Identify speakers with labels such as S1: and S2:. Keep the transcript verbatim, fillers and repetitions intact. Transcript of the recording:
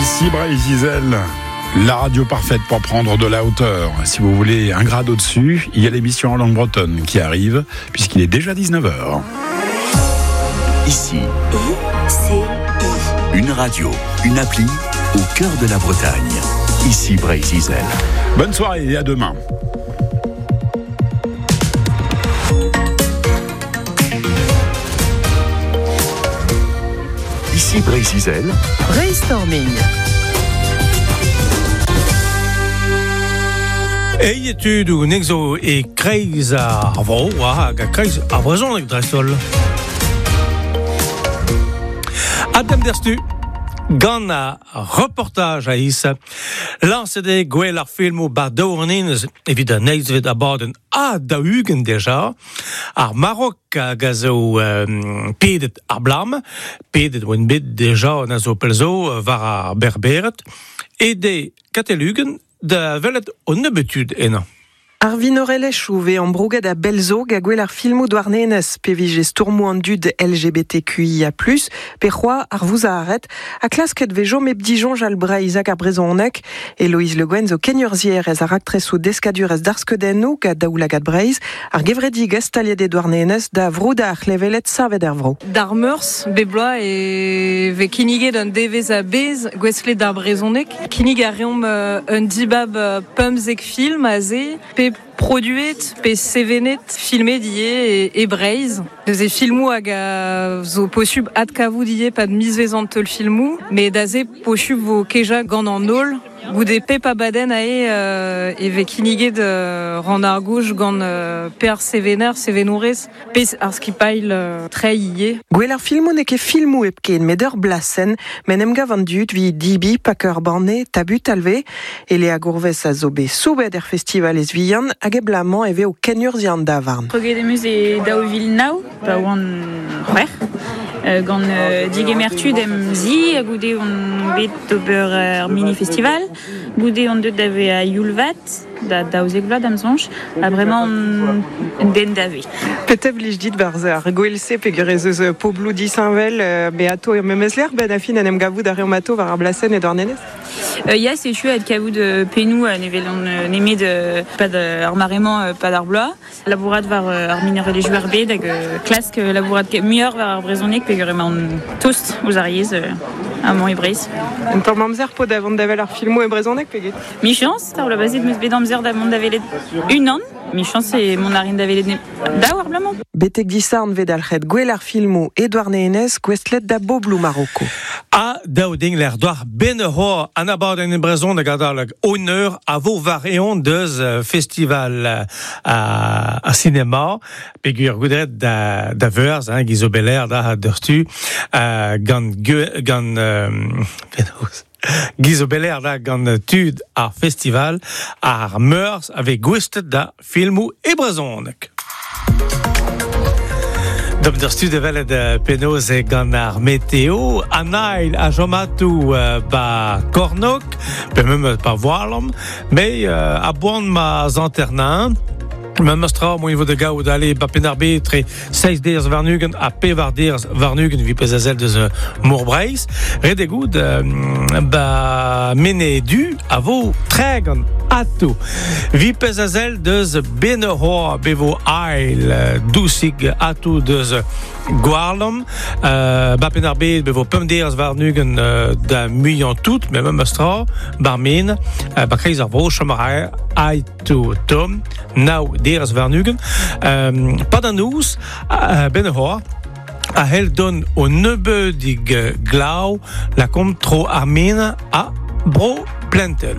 S1: Ici Breizh-Izel, la radio parfaite pour prendre de la hauteur. Si vous voulez un grade au-dessus, il y a l'émission en langue bretonne qui arrive, puisqu'il est déjà dix-neuf heures.
S2: Ici,
S3: I C I.
S2: Une radio, une appli, au cœur de la Bretagne. Ici Breizh-Izel.
S1: Bonne soirée et à demain.
S2: Ici Breizh-Izel.
S4: Brainstorming.
S5: Ei etud nexo e kreiz ar vro, hag a kreiz ar brezhoneg dreist-holl. Adem derstu, gant a reportaj a is, lañset eo gwell ar filmoù ba daouarnenez evit an eizhvet abadenn ha daou-ugent deja, ar Marok hag a zo euh, pedet ar blam, pedet oan bet deja an a zo pelzo war ar berberet, e de katelugen da welet o nebetud ena.
S6: Ar vinorelezhioù ve ambrouget a belzo ga gwell ar filmoù douarnenez pe vije stourmoù an dud L G B T Q I A plus, pe c'hoa ar vouzaret, a klasket vejo mep dijoñj al Breizh hag ar brezhoneg, Eloïse Le Guen zo kenurzhier ez ar aktresoù deskadurez d'ar skeudennoù ga daoulagad Breizh, ar gevredigezh staliet e douarnenez da vrouda ar c'hlevelet savet er vro.
S7: D'ar meurzh, bep bloaz e vez kinniget un devezh a bez gouestlet d'ar brezhoneg. Kinnig a reomp un dibab pemzek film aze, pe produet, pe sevenet, filmet die e, e Breizh. Deus e filmoù hag a zo posub adkavout die pad mizvezant teul filmoù, met daze posub vo keja gant an holl. Goude pep abadenn ae euh, e vez kinniget euh, ran ar gouj gant euh, per sevener, sevenourez, pe ar skipail euh, tre ie.
S6: Gwell ar filmoù n'eo ket filmoù hepken, met ur blasenn, men em gav an dud vi dibi, paker banne, tabut alve, e le a gourvez a zo bet soubet er festival ez vihan, hag e blamañ e vez o kenurzhiañ an davarn.
S8: Kroget em eus e daou vil nav, pa oan c'hwec'h. Euh, gant euh, digemer tud em zi, goude on bet d'ober ar mini-festival, goude on deut da ve a Yulvat, da daouzek vloaz da'm soñj, ha bremañ on den da ve.
S6: Petev lij dit barz ar gwell-se peogwir ez eus pobloù disheñvel, me ato ur memes lec'h, ben a fin en em gavout ar reomp ato war ar blasenn e Douarnenez?
S8: Euh, ya, setu ad kavout euh, pennoù euh, nevel on euh, nemet euh, pad ar maremañ euh, pad ar bloaz, labourat war euh, ar minorelezhioù ar bed hag euh, klask euh, labourat muioc'h war ar brezhoneg peogwir emañ on tost ouzh ar yezh euh, amañ e Breizh.
S6: Un tamm amzer po da vont da wel ar filmoù e brezhoneg peget?
S8: Michañs, ar bloaz bazet meus bet amzer da mont da welet unan. Michañs e mont a rin da welet ne daou ar bloaz-mañ.
S6: Betek disarn vet alc'hed gwell ar filmoù e Douarnenez gouestlet da bobloù Maroko.
S5: A daou ding l'er doar ben ho an abadenn en brezhoneg adalek honneur a vo war eon deus festival a, a cinema peogwir goudret da, da veurz, hein, gizo beler da deurstu, uh, gant, gant euh, Gizo beler da gant tud ar festival ar meurzh ave gouestlet da filmoù e brezhoneg. Dom d'ur stud evelet penaos e gant ar meteo, an ail a jomatou ba kornok, pe mem pa voilom, me a boan ma zanternan, Mem astra mo vo de gaout ale ba penarbe tre seiz derz warnugen a pevar derz warnugen vi pez azel deus mor Breizh. Ret e gout ba mene du a vo tregan ato. Vi pez azel deus benehoa bevo ail dousig ato deus Gwarlom, euh, ba penarbe bevo pemp derz warnugen euh, da muiañ tout, mais mem astra bar men, euh, ba kreiz ar vro chomar aito tom, nao derz warnugen. Euh, pad an ouz, euh, benehoa, a hel don o nebeudig glav la kom tro ar men a bro plentel.